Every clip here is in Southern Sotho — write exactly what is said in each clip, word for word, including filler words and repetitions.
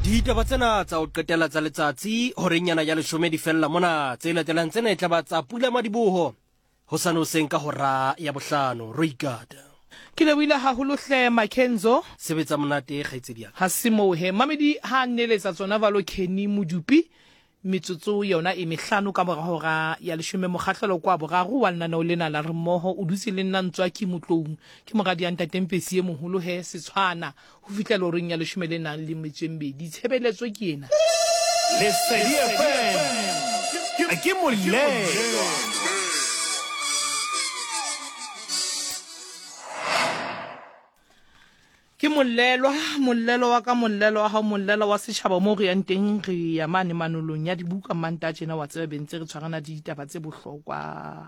Ditaba tsena tsa ho qetela tsa letsatsi horenyana ya leshome di fella mona. Tse latelang tsena e tla ba tsa pula madiboho hosane hoseng ka hora ya bohlano. Roikata. Ke lebohile haholo hle Makenzo. Sebetsa monate kgaitsedi ya ka. Ha se moo he. Mamedi ha a nneletsa tsona valo Kenny Modupi metsotso yona e mehlano ka mora hora ya leshome mokgahlelo kwa boraro wa lenaneo lena la re mmoho o dutse le nna Ntswaki Motloung ke moradi ya ntate Mpesi e moholo he setshwana ho fihlela horeng ya leshome le nang le metso e mmedi tshebeletso ke ena. Lesedi F M ke molelwa. Ke mollelwa, mollelo wa ka, mollelo wa hao, mollelo wa setjhaba moo re yang teng, re ya mane manolong ya dibuka Mantaha tjena wa tseba be ntse re tshwarana le ditaba tse bohlokwa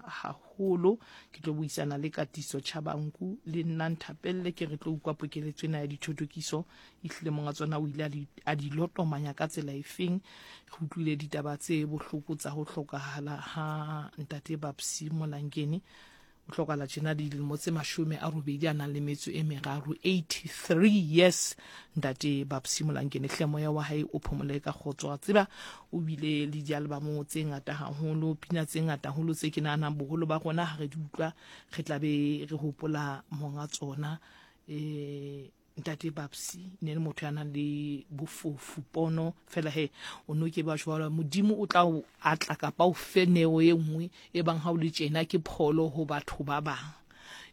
haholo. Ke tlo buisana le Katiso Chabangu le nna Nthapelle ke re tlo utlwa pokeletso ena ya dithotokiso ehlile monga tsona o ile a di, a di lotomanya ka tsela efeng. Re utlwile ditaba tse bohloko tsa ho hlokahala ha ntate Babsy Molangeni. O hlokahala tjena dilemo tse mashome a robedi a nang le metso e meraro, eighty-three years. Ntate Babsy Molangeni hle moya wa hae o phomole ka kgotso. Wa tseba o bile le dialbamo tse ngata haholo, pina tse ngata haholo tse ke nahanang boholo ba rona ha re di utlwa re tla be re hopola monga tsona. Eh, ntate Babsy ne le motho ya nang le bofofu pono fela he o no ke ba jwalo Modimo o tla o atla kapa o fe neo e nngwe e bang ha o le tjena ke pholo ho batho ba bang.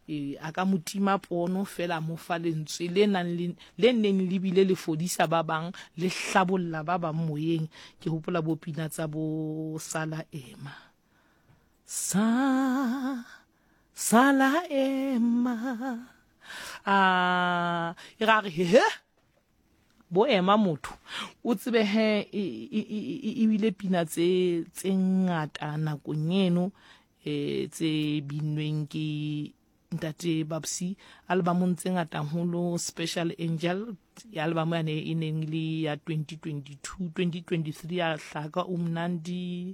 E, a ka motima pono fela mo fa lentswe le nang le, le neng le bile le fodisa ba bang le hlabolla ba bang moyeng. Ke hopola bo pina tsa bo Sala Ema, sa Sala Ema, a e ra re he bo ema motho o tsebe he e bile pina tse tse ngata nakong eno e tse binweng ke ntate Babsy albumong tse ngata haholo. Special Angel ya album yane e neng le ya twenty twenty-two, twenty twenty-three ya hlaka umnandi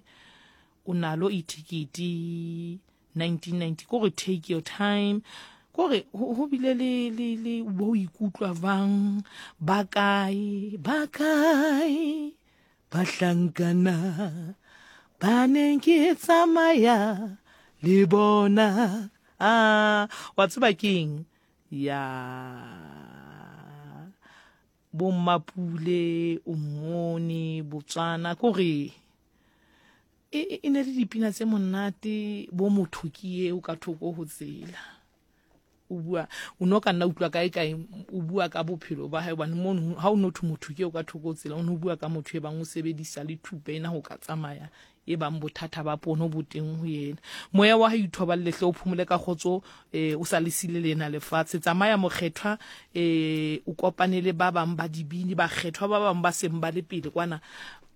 o nalo itikiti nineteen ninety ko re take your time kore ho bile le le le bo ikutlwa bang ba kae ba kae bahlankana ba neng ke tsamaya le bona. Ah, wa tseba keng ya bo Mmapule o mmone Botswana kore e e ne le dipina tse monate bo motho ke eo ka thoko ho tsela. O bua o no ka nna utlwa kae kae o bua ka bophelo ba hae hobane mono ha o no thwe motho ke o ka thoko tsela o no bua ka motho e bang o sebedisa le thupa ena ho ka tsamaya e bang bothata ba pono bo teng ho yena. Moya wa hae ithoballe hle o phomole ka kgotso eh o sa le sile lena lefatshe. Tsamaya mokgethwa eh o kopane le ba bang ba dibini bakgethwa ba bang ba seng ba le pele kwana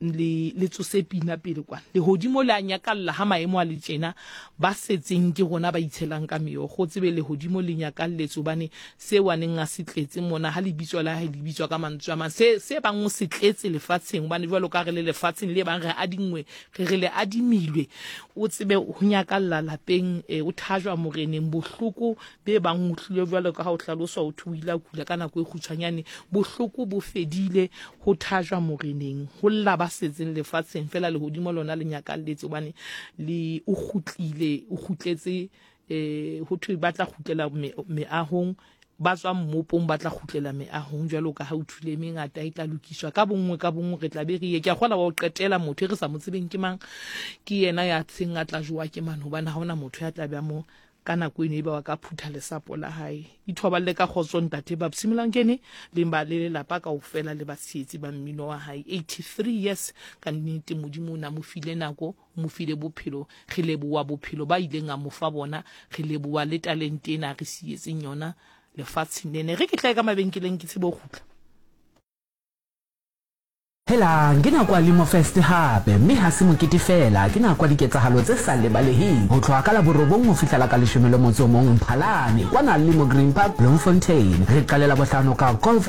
le le tsose pina pele kwana lehodimo le a nyakalla ha maemo a le tjena ba setseng ke rona ba itshelang ka meokgo tsebe lehodimo le nyakalletse hobane se waneng a se tletse mona ha lebitso la hae le bitswa ka mantswe a mang se se bang o se tletse lefatsheng hobane jwalo ka re le lefatsheng le bang re adingwe re re le adimilwe o tsebe ho nyakalla lapeng e, o thajwa moreneng bohloko be bang o tlile jwalo ka ha o hlaloswa o thuila kula ka nako e kgutshwanyane bohloko bo fedile ho thajwa moreneng ho lla ba setseng lefatsheng fela lehodimo lona le nyakalletse hobane le o kgutlile o kgutletse eh ho thwe ba tla kgutlela meahong ba tswa mmopong ba tla kgutlela meahong jwalo ka ha o thule mengata e tla lokiswa ka bonngwe ka bonngwe re tla be re ye. Ke a kgola wa o qetela motho e re sa mo tsebeng ke mang ke yena ya tsheng a tla jowa ke mang hobane ha hona motho ya tla be a mo ka nako eno e ba wa ka phutha lesapo la hae. Ithoballe ka kgotso ntate Babsy Molangeni le ba le lelapa kaofela le batshehetsi ba mmino wa hae. eighty-three years ka nnete Modimo o na mo file nako, mo file bophelo, re leboha bophelo ba ileng a mo fa bona, re leboha le talente ena re sietseng yona lefatsheng lena. Re ke tla ka mabenkeleng ke tsebe ho kgutla. Helang, ke nako ya Limo Fest hape, mme ha se mokete fela, ke nako ya diketsahalo tse sa lebaleheng. Ho tloha ka la borobong ho fihlela ka leshome le motso o mong Mphalane, kwana Limo Green Park, Bloemfontein. Re qalela bohlano ka golf